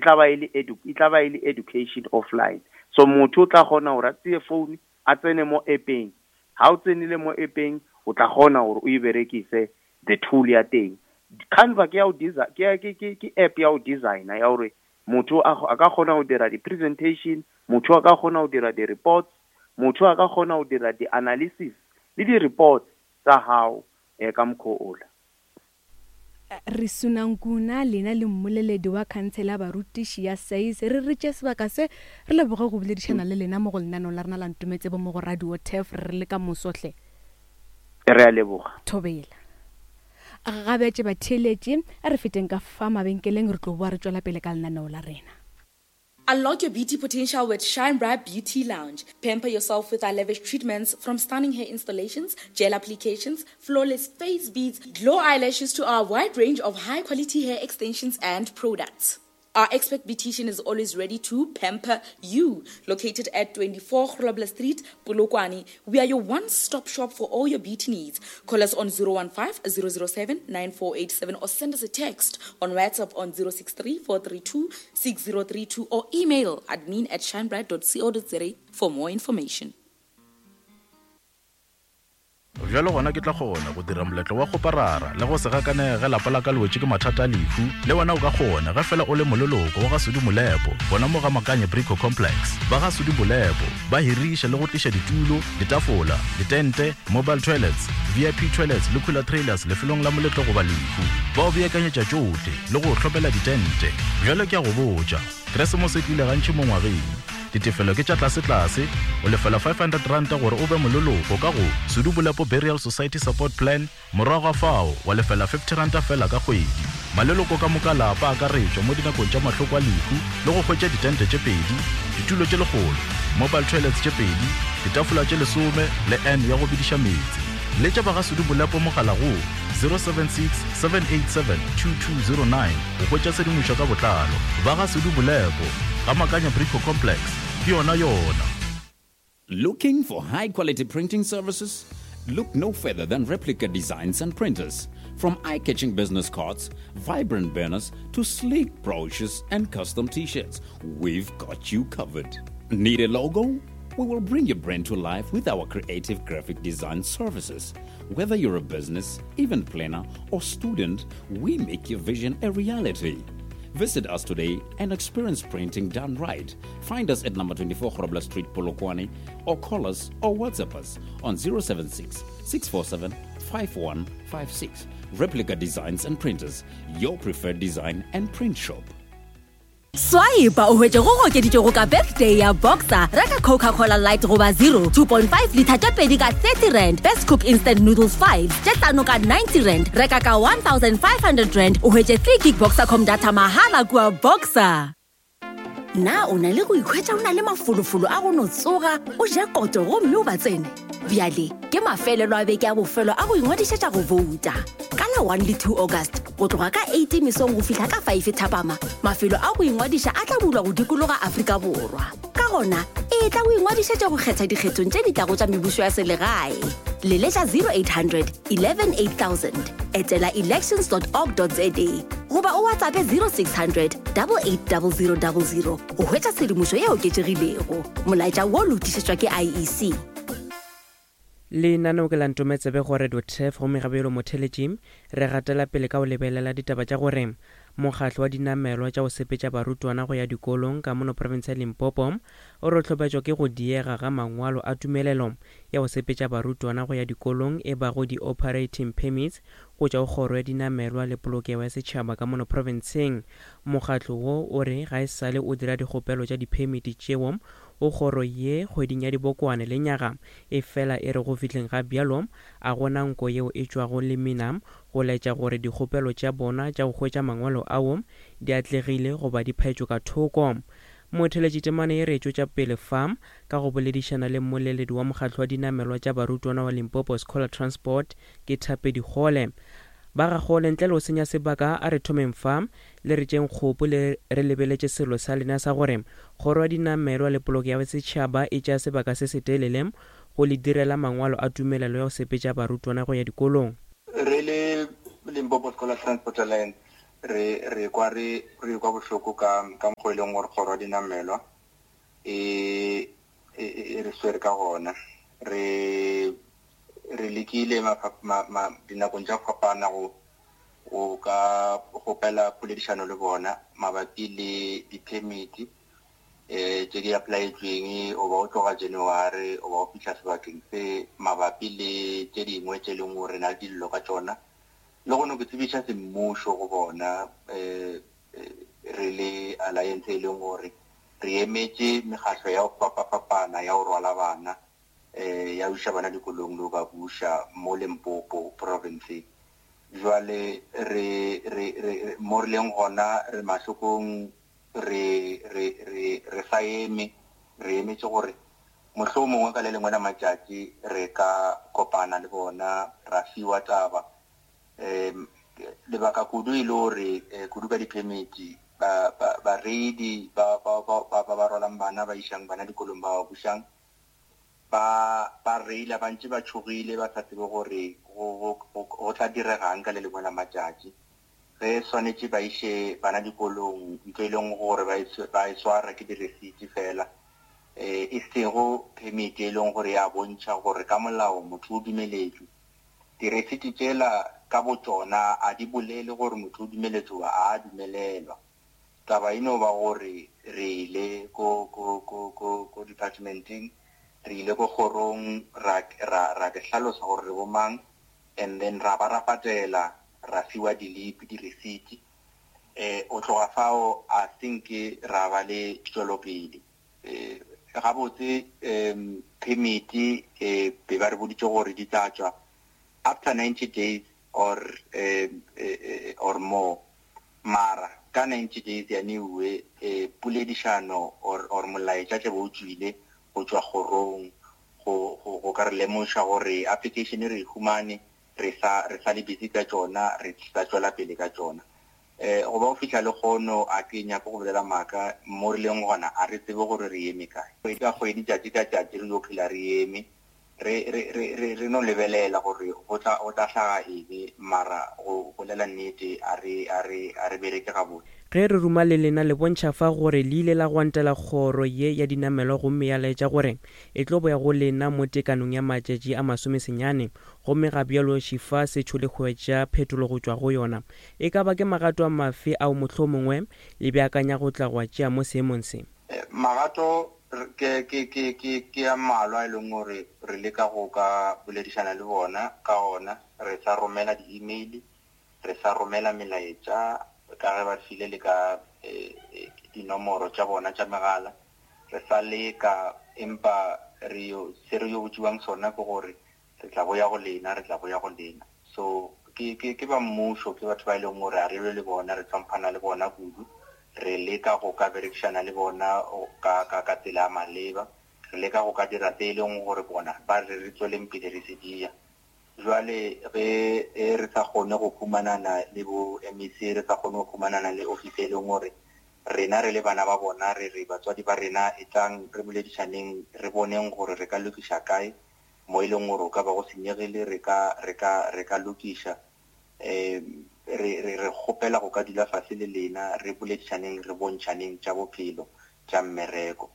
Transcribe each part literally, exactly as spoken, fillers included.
Tla ba e le edu e tla ba e le education offline. So motho o tla kgona gore a tseye phone, a tsene mo app-eng. Ha o tsenile mo app-eng, o tla kgona gore o e berekise the tool ya teng. Canva ke ya go ke ke ke ke app ya go designer ya gore motho a a ka kgona go dira di-presentation, motho a ka kgona go dira di-reports, motho a ka kgona go dira di-analysis le di-reports tsa gago um ka mokgwa ola. Re Sunankuna, lena le mmoleledi wa Khansele ya Barutiši ya SAYS, re re tšee sebaka se re leboge go boledišana le lena mo go lenaneo la rena la Ntometsebo mo go Radio Turf re le ka moso hle. Re a leboga. Thobela. Gabetše batheeletši, a re feteng ka fa mabenkeleng re tlo boa re tšwela pele ka lenaneo la rena. Unlock your beauty potential with Shine Bright Beauty Lounge. Pamper yourself with our lavish treatments, from stunning hair installations, gel applications, flawless face beads, glow eyelashes to our wide range of high quality hair extensions and products. Our expert beautician is always ready to pamper you. Located at twenty-four Grobler Street, Polokwane, we are your one-stop shop for all your beauty needs. Call us on zero one five, zero zero seven, nine four eight seven or send us a text on WhatsApp on zero six three, four three two, six zero three two or email admin at shinebright dot co dot za for more information. Bjalo gona ke tla kgona go dira moletlo wa kgoparara le go se gakanege ge lapa la ka le wetše ke mathata a lehu. Le wena o ka kgona ge fela o le moleloko wa ga Sudi Molepo, gona mo ga Makanye Brico Complex. Ba ga Sudi Molepo ba hiriša le go tliša ditulo, ditafola, ditente, mobile toilets, V I P toilets le cooler trailers lefelong la moletlo goba lehu. Ba o beakanyetša tšohle le go o hlopela ditente. Bjalo ke a go botša, Keresemose e tlile gantši mo ngwageng. Ditefelo ke tša tlase-tlase, o lefela five hundred ranta gore o be moleloko ka go Sudu Bolepo Burial Society Support Plan, morago ga fao wa lefela fifty ranta fela ka kgwedi. Maleloko ka moka lapa a akaretšwa mo dinakong tša mahloko a lehu le go hwetša ditente tše pedi, ditulo tše lekgolo, mobile toilets tše pedi, ditafola tše lesome le N ya go bidiša meetse. Letša ba ga Sudu Bolepo mogala go zero seven six, seven eight seven, two two zero nine go hwetša tshedimošo ka botlalo. Ba ga Sudu Bolepo, ga Makanya Brico Complex, ke yona yona. Looking for high quality printing services? Look no further than Replica Designs and Printers. From eye-catching business cards, vibrant banners, to sleek brochures and custom t-shirts, we've got you covered. Need a logo? We will bring your brand to life with our creative graphic design services. Whether you're a business, event planner, or student, we make your vision a reality. Visit us today and experience printing done right. Find us at number twenty-four Grobler Street, Polokwane, or call us or WhatsApp us on zero seven six, six four seven, five one five six. Replica Designs and Printers, your preferred design and print shop. Swipe o hwetše go okeditšego ka birthday ya Boxer. Reka Coca-Cola Light goba zero, two point five liter tše pedi ka thirty rand. Best Cook Instant Noodles five tše hlano ka ninety rand. Reka ka one thousand five hundred rand o hwetše three gig Boxercom data mahala kua Boxer. Na o na le go ikhwetša o na le mafolofolo a go no tsoga, o je koto gomme o ba tsene? Bjale ke mafelelo a beke a bofelo a go ingwadišetša go vouta. Ka la one le two August, go tloga ka eight mesong go fihla ka five thapama, mafelo a go ingwadiša a tla bulwa go dikologa Afrika Borwa. Ka gona, e tla go ingwadišetša go kgetha dikgethong tše di tlago tša mebušo ya selegae. Leletša zero eight hundred, eleven eight thousand, etela elections dot org dot za goba o WhatsApp zero six hundred, double eight double zero double zero go hwetša tshedimošo ye oketšegilego. Molaetša wo lotišetšwa ke I E C. Lenaneo ke la Ntometsebe go Radio Turf gomme gabjalo motheletši re gatela pele ka go lebelela ditaba tša gore mokgatlo wa dinamelwa tša go sepetša barutwana go ya dikolong ka mono province ya Limpopo o re hlopetšwa ke go diega ga mangwalo a tumelelo ya go sepetša barutwana go ya dikolong e bago di-operating permits go tšwa go kgoro ya dinamelwa le polokego ya setšhaba ka mono provinceng. Mokgatlo wo o re ga e sale o dira dikgopelo tša diphemiti tšeo o kgoro ye kgweding ya dibokwane le nyaga e fela e re go fihleng ga bjalo a gona nko yeo e tšwago lemina go laetša gore dikgopelo tša bona tša go hwetša mangwalo ao di atlegile goba di phaetšwe ka thoko. Motheletši temane e re tšwetša pele fa ka go boledišana le mmoleledi wa mokgatlo wa dinamelwa tša barutwana wa Limpopo Scholar Transport ke Thapedi Kgole. Ba ga Kgole ntle le go senya sebaka a re thomeng fa le re tšeng kgopo le re lebeletše selo sa lena sa gore kgoro ya dinamelwa le poloko ya setšhaba e tšea sebaka se setelele go le direla mangwalo a tumelelo ya go sepetša barutwana go ya dikolong. Re le Limpopo Scholar Transport Alliance Re re kwa re re kwa bohloko ka ka mokgwa e leng gore kgoro ya dinamelwa e e re swere ka gona. Re re lekile dinakong tša go fapana go go ka kgopela poledišano le bona mabapi le di-permit eh tše di applyetsweng o ba o tloga January o ba o fihla sebakeng se mabapi le tše dingwe tše leng gore na le dillo ka tšona. Le go no ke tsebiša semmušo go bona eh re le alliance e leng gore re emetše mekgatlo ya go fapafapana ya go rwala bana eh ya iša bana dikolong le go ba buša mo Limpopo province. Jwale re re re mo re leng gona re mahlokong, re re re re sa eme, re emetse gore mohlomongwe ka le lengwe la matšatši re ka kopana le bona ra fiwa taba. Um lebaka kudu e le gore kudu ka di-permit ba ba bareidi ba ba ba ba ba rwalang bana ba išang bana dikolong ba ba bušang ba ba reila ba ntše ba tšhogile ba sa tsebe gore go go go tla diregang ka le lengwe la matšatši. Ge swanetše ba iše bana dikolong ntho e leng gore ba ba e swara ke di-receipt fela, eh e sego permit e leng gore ya bontšha gore ka molao motho o dumeletšwe. Di-receipt tšela ka botšona a di bolele gore motho o dumeletšwe goba a dumelelwa. Taba e no ba gore re ile ko ko ko ko ko departmenteng, re ile ko kgorong ra ra ra ke hlalosa gore re bomang, and then ra ba ra patela ra fiwa dilipi di-receipt. Eh o tloga fao a think ra ba le tšwelopele. Eh gabotse um permit eh be ba re boditše gore di tla tšwa after ninety days or um or more. Mara ka ninety days ya newe eh poledišano or or molaetša tle bo o tswile go tšwa kgorong go go go ka re lemoša gore application re e humane, re sa re sa le busy ka tšona, re sa tšwela pele ka tšona. Eh go ba o fihla le kgono a ke nyake go bolela maaka mo re leng gona a re tsebe gore re eme kae. Kgwedi ka kgwedi, tšatši ka tšatši re yo phela re eme, re re re re re no lebelela gore go tla go tla hlaga eng, mara go bolela nnete a re a re a re bereke gabotse. Ge re ruma le lena le bontšha fa gore le ile la gwantela kgoro ye ya dinamelwa gomme ya laetša gore e tlo boya go lena mo tekanong ya matšatši a masomesenyane, gomme ga bjalo šifa se tšho le hwetša phetolo go tšwa go yona. E ka ba ke magato a mafe ao mohlomongwe le beakanya go tla go a tšea mo seemong se? Magato ke ke ke ke ke a mmalwa e leng gore re leka go ka boledišana le bona ka ona. Re sa romela di-email, re sa romela melaetša ka ge ba file le ka dinomoro tša bona tša megala. Re sa leka, empa re yo se re yo botšiwang sona ke gore re tla boya go lena, re tla boya go lena. So ke ke ke ba mmušo, ke batho ba e leng gore a re lwe le bona, re hlomphana le bona kudu. Re leka go ka berekišana le bona ka ka ka tsela ya maleba, re leka go ka dira tse e leng gore bona ba re re tsweleng pele re se dia. Jwale ge re sa kgone go humanana le bo M E C, re sa kgone go humanana le office e leng gore rena re le bana ba bona, re re batswadi ba rena e tlang re boledišaneng, re boneng gore re ka lokiša kae mo e leng gore o ka ba go senyegile, re ka re ka re ka lokiša. Eh re re re kgopela go ka dula fase le lena, re boledišaneng, re bontšaneng tša bophelo tša mmereko.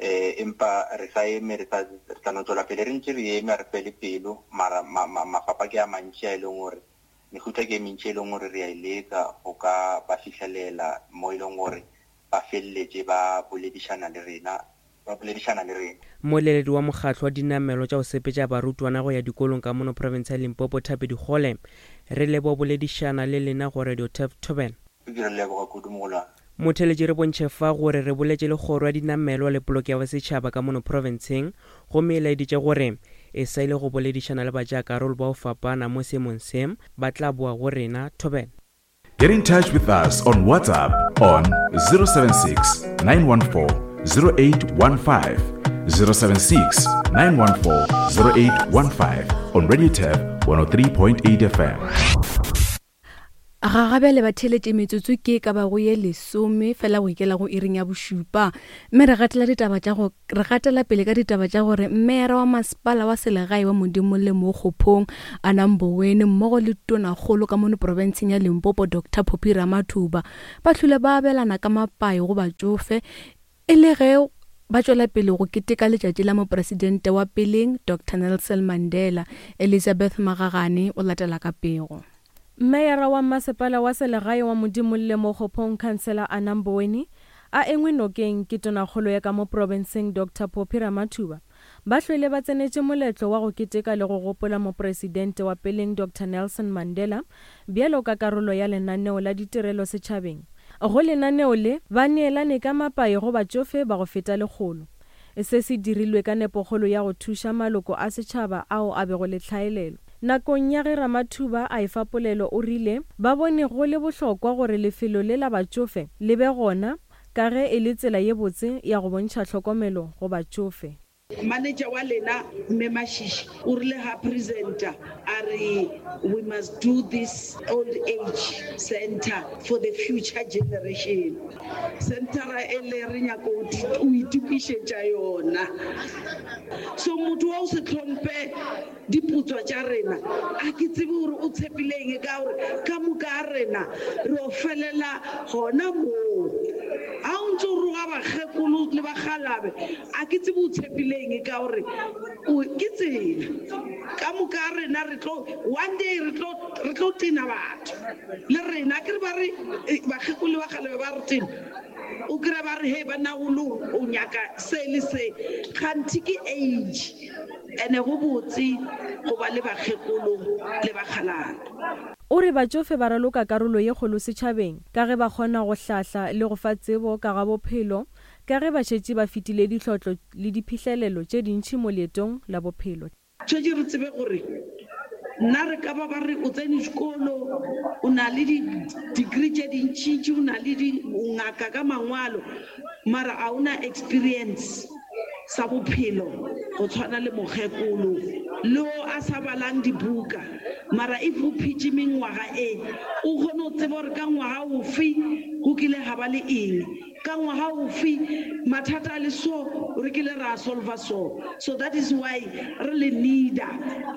Eh empa re sa eme, re sa re tla no tswela pele re ntse re eme, re fele pelo, mara mafapha ke a mantši a e leng gore mehuta ke e mentši e leng gore re a e leka go ka ba fihlelela mo e leng gore ba feleletše ba boledišana le rena, ba boledišana le rena. Mmoleledi wa mokgatlo wa dinamelo tša go sepetša barutwana go ya dikolong ka mono province ya Limpopo, Thapi Dikgole, re leboga boledišana le lena go Radio Turf Thobela. Ke re leboga kudu mogolwane. Motheletši re bontšhe fa gore re boletše le kgoro ya dinamelwa le poloko ya bosetšhaba ka mono provinceng, gomme e laeditše gore e sa ile go boledišana le batšeakarolo bao fapana mo seemong se, ba tla boa go rena. Thobela. Get in touch with us on WhatsApp on zero seven six, nine one four, zero eight one five, zero seven six, nine one four, zero eight one five on Radio Turf one oh three point eight F M. Ga gabjale ba theeletše metsotso ke ka bago ye lesome fela go ikela go iring ya bošupa. Mme re gatela ditaba tša go re gatela pele ka ditaba tša gore meyara wa masepala wa selegae wa Modimolle mo Kgophong Anna Mboweni mmogo le tonakgolo ka mono profenseng ya Limpopo Doctor Phophi Ramathuba ba hlwile ba abelana ka mapai go batšofe e le ge ba tšwela pele go keteka letšatši la mopresidente wa peleng Doctor Nelson Mandela. Elizabeth Magagane o latela ka pego. Meyara wa masepala wa selegae wa Modimolle mo Kgophong Councillor Anna Mboweni a engwe nokeng ke tonakgolo ya ka mo profenseng Doctor Phophi Ramathuba ba hlwele ba tsenetše moletlo wa go keteka le go gopola mopresidente wa peleng Doctor Nelson Mandela bjalo ka karolo ya lenaneo la ditirelo setšhabeng. Go lenaneo le ba neelane ka mapai go batšofe ba go feta lekgolo. Se se dirilwe ka nepokgolo ya go thuša maloko a setšhaba ao a bego le tlhaelelo. Nakong ya ge Ramathuba a efa polelo o rile ba bone go le bohlokwa gore lefelo le la batšofe le be gona ka ge e le tsela ye botse ya go bontšha tlhokomelo go batšofe. Manager wa lena Mme Mashishi o rile ha presenter a re we must do this old age center for the future generation. Centera e le re nyaka o itokišetša yona. So motho wa o se tlhompe diputswa tša rena a ke tsebe gore o tshepileng ka gore ka moka a rena re o felela gona moo. Ha o ntse o roga bakgekolo le bakgalabe a ke tsebe o tshepileng ka gore o ke tsela ka moka a rena re tlo one day re tlo re tlo tena batho le rena ke re ba re bakgekolo le bakgalabe ba re tena o kry ba re he banna o lo o nyaka se le se kganthi ke age ene go botse go ba le bakgekolo le bakgalabe. O re batšofe ba raloka karolo ye kgolo setšhabeng ka ge ba kgona go hlahla le go fa tsebo ka ga bophelo ka ge ba šetše ba fetile dihlotlo le diphihlelelo tše dintši mo leetong la bophelo. Tshwetše re tsebe gore nna re ka ba ba re o tsene sekolo o na le di-degree tše dintšintši o na le dingaka ka mangwalo mara a ona experience sa bophelo go tshwana le mokgekolo le o a sa balang dibuka mara if o phetse mengwaga e o kgone go tseba gore ka ngwaga ofe go kile ga ba le eng ka ngwaga ofe mathata a le so re kile ra solva so. So that is why re le needa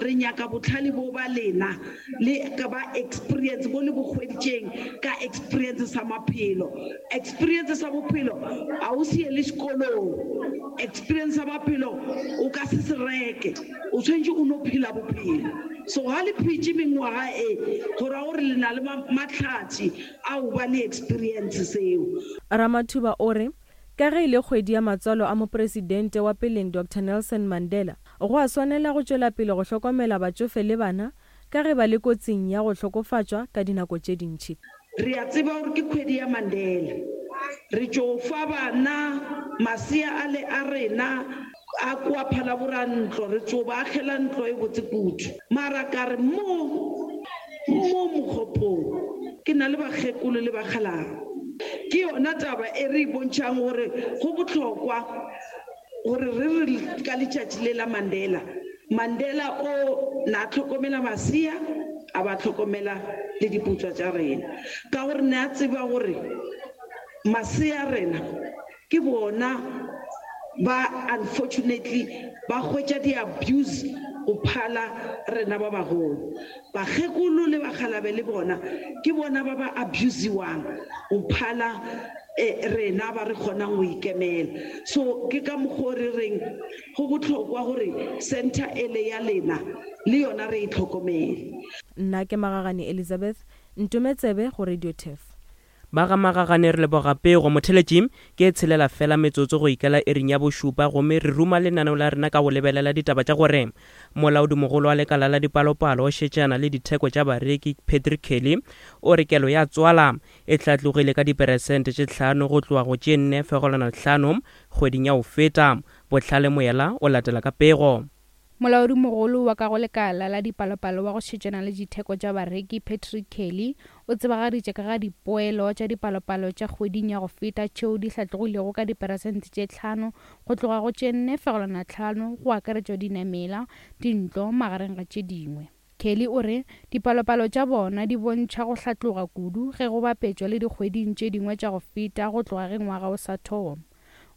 re nyaka botlhale bo ba lena le ka ba experience bo le bo hweditšeng ka experience sa maphelo. Experience sa bophelo a o se ye le sekolong, experience sa maphelo o ka se se reke, o tshwanetse o no phela bophelo. So ha le phetse mengwaga e go ra gore le na le mahlatse a o ba le experience seo. Ramathuba o re ka ge e le kgwedi ya matswalo a mopresidente wa peleng Doctor Nelson Mandela go a swanela go tšwela pele go hlokomela batšofe le bana ka ge ba le kotsing ya go hlokofatšwa ka dinako tše dintši. Re a tseba gore ke kgwedi ya Mandela, re tšo fa bana masea a le a rena a kwa phalabora ntlo, re tšo ba agela ntlo e botse kudu. Mara ka re mo mo mokgopong ke na le bakgekolo le bakgalabo. Ke yona taba e re e bontšhang gore go bohlokwa gore re re ka letšatši le la Mandela. Mandela o na tlhokomela masea a ba tlhokomela le diputswa tša rena ka gore ne a tseba gore masea rena ke bona ba unfortunately ba hwetša di-abuse go phala rena ba bagolo. Bakgekolo le bakgalabe le bona ke bona ba ba abusiwang go phala rena ba re kgonang go ikemela. So ke ka mokgwa o re reng go bohlokwa gore center ele ya lena le yona re e tlhokomele. Nna ke Magagane Elizabeth Ntometsebe go Radio Turf. Ba ga Magagane re leboga pego motheletši ke tshelela fela metsotso go ikela iring ya bošupa gomme re ruma lenaneo la rena ka go lebelela ditaba tša gore molaodimogolo wa lekala la dipalopalo o šetšana le ditheko tša bareki Patrick Kelly o re kelo ya tswala e hlatlogile ka diperesente tše tlhano go tloga go tše nne fegelwana hlano kgweding ya go feta. Bohlale Moyela o latela ka pego. Molaodimogolo wa ka go lekala la dipalopalo wa go šetšana le ditheko tša bareki Patrick Kelly o tsebagaditše ka ga dipoelo tša dipalopalo tša kgweding ya go feta tšeo di hlatlogilego ka diperesente tše tlhano go tloga go tše nne fegelwana tlhano go akaretšwa dinamela, dintlo magareng ga tše dingwe. Kelly o re dipalopalo tša bona di bontšha go hlatloga kudu ge go bapetšwa le dikgweding tše dingwe tša go feta go tloga ge ngwaga o sa thoma.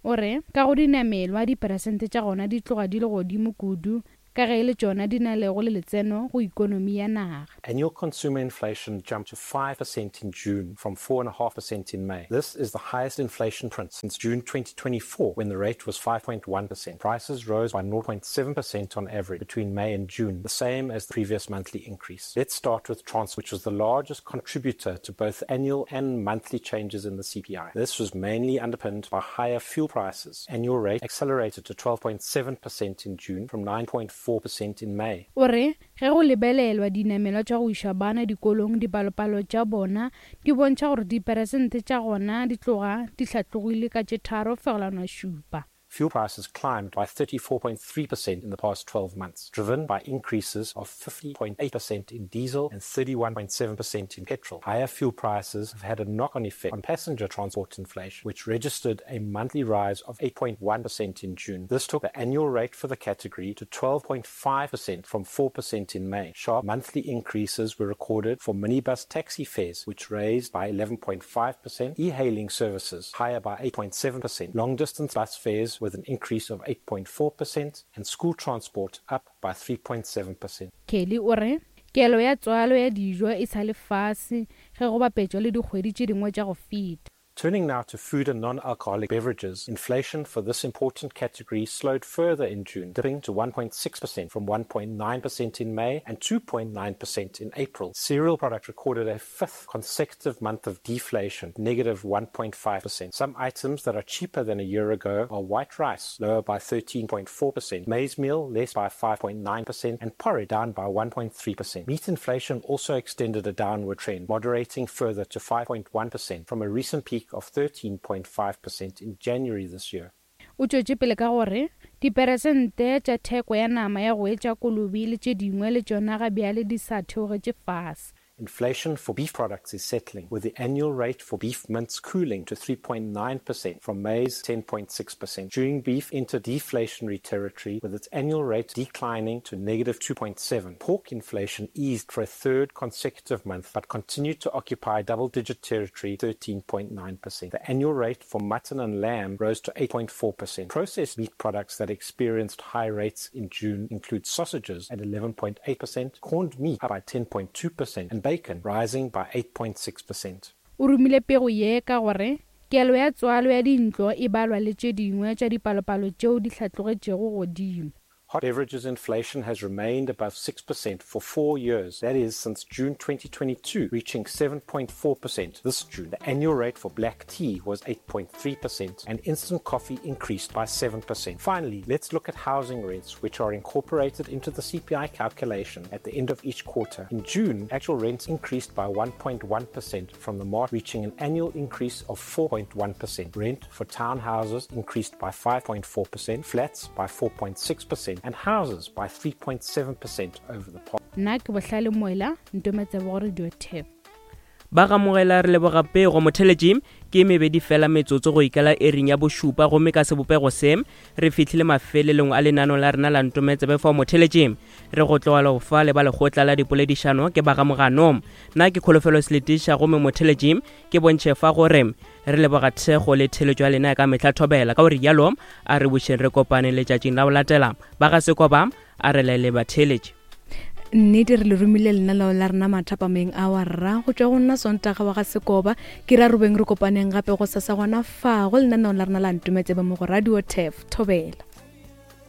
O re ka go dinamelwa diperesente tša gona di tloga di le godimo kudu ka ge e le tšona di na lego le letseno go ikonomi ya naga. Annual consumer inflation jumped to five percent in June from four point five percent in May. This is the highest inflation print since June twenty twenty-four, when the rate was five point one percent. Prices rose by zero point seven percent on average between May and June, the same as the previous monthly increase. Let's start with transport, which was the largest contributor to both annual and monthly changes in the C P I. This was mainly underpinned by higher fuel prices. Annual rate accelerated to twelve point seven percent in June from nine point four percent in May. O re ge go lebelelwa dinamelwa tša go iša bana dikolong, dipalopalo tša bona di bontšha gore diperesente tša gona di tloga di hlatlogile ka tše tharo fegelwana šupa. Fuel prices climbed by thirty-four point three percent in the past twelve months, driven by increases of fifty point eight percent in diesel and thirty-one point seven percent in petrol. Higher fuel prices have had a knock-on effect on passenger transport inflation, which registered a monthly rise of eight point one percent in June. This took the annual rate for the category to twelve point five percent from four percent in May. Sharp monthly increases were recorded for minibus taxi fares, which raised by eleven point five percent, e-hailing services higher by eight point seven percent, long-distance bus fares with an increase of eight point four percent and school transport up by three point seven percent. Kelly o re kelo ya tswalo ya dijo e sa le fase ge go bapetšwa le dikgwedi tše dingwe tša go feta. Turning now to food and non-alcoholic beverages, inflation for this important category slowed further in June, dipping to one point six percent from one point nine percent in May and two point nine percent in April. Cereal product recorded a fifth consecutive month of deflation, negative one point five percent. Some items that are cheaper than a year ago are white rice, lower by thirteen point four percent, maize meal less by five point nine percent, and porridge down by one point three percent. Meat inflation also extended a downward trend, moderating further to five point one percent from a recent peak of thirteen point five percent in January this year. O tšwetše pele ka gore diperesente tša theko ya nama ya go etša kolobe le tše dingwe le tšona ga bjale di sa theogetše fase. Inflation for beef products is settling, with the annual rate for beef mince cooling to three point nine percent from May's ten point six percent. June beef entered deflationary territory, with its annual rate declining to negative two point seven. Pork inflation eased for a third consecutive month, but continued to occupy double-digit territory, thirteen point nine percent. The annual rate for mutton and lamb rose to eight point four percent. Processed meat products that experienced high rates in June include sausages at eleven point eight percent, corned meat up by ten point two percent, and bacon rising by eight point six percent. O romile pego ye ka gore kelo ya tswalo ya dintlo e balwa le tše dingwe tša dipalopalo tšeo di hlatlogetšego godimo. Hot beverages inflation has remained above six percent for four years, that is, since June twenty twenty-two, reaching seven point four percent this June. The annual rate for black tea was eight point three percent, and instant coffee increased by seven percent. Finally, let's look at housing rents, which are incorporated into the C P I calculation at the end of each quarter. In June, actual rents increased by one point one percent from the March, reaching an annual increase of four point one percent. Rent for townhouses increased by five point four percent, flats by four point six percent, and houses by three point seven percent over the past. Nna ke Bohlale Moela, Ntometse go Radio T E F. Ba gamogela re leboga pego motheletši ke mebedi fela metsotso go ikala ering ya bošupa gomme ka sebopego se re fihlile mafelelong a lenano la rena la Ntometsebe fa motheletši re go tlogela go fa le ba lekgotla la dipoledišano ke ba gamogano. Nna ke Kholofelo Seletiša gomme motheletši ke bontšhe fa gore re leboga thekgo le theletšo ya lena ka mehla thobela ka gore yalo a re bušeng re kopane letšatšing la go latela ba ga Sekoba a re laele batheletši. Nnete re le romile lenaneo la rena mathapameng a wa rra go tšwa go nna Sontaga wa ga Sekoba ke ra robeng re kopaneng gape go sasa gona fa go lenaneo la rena la Ntometsebe mo go Radio T E F. Thobela.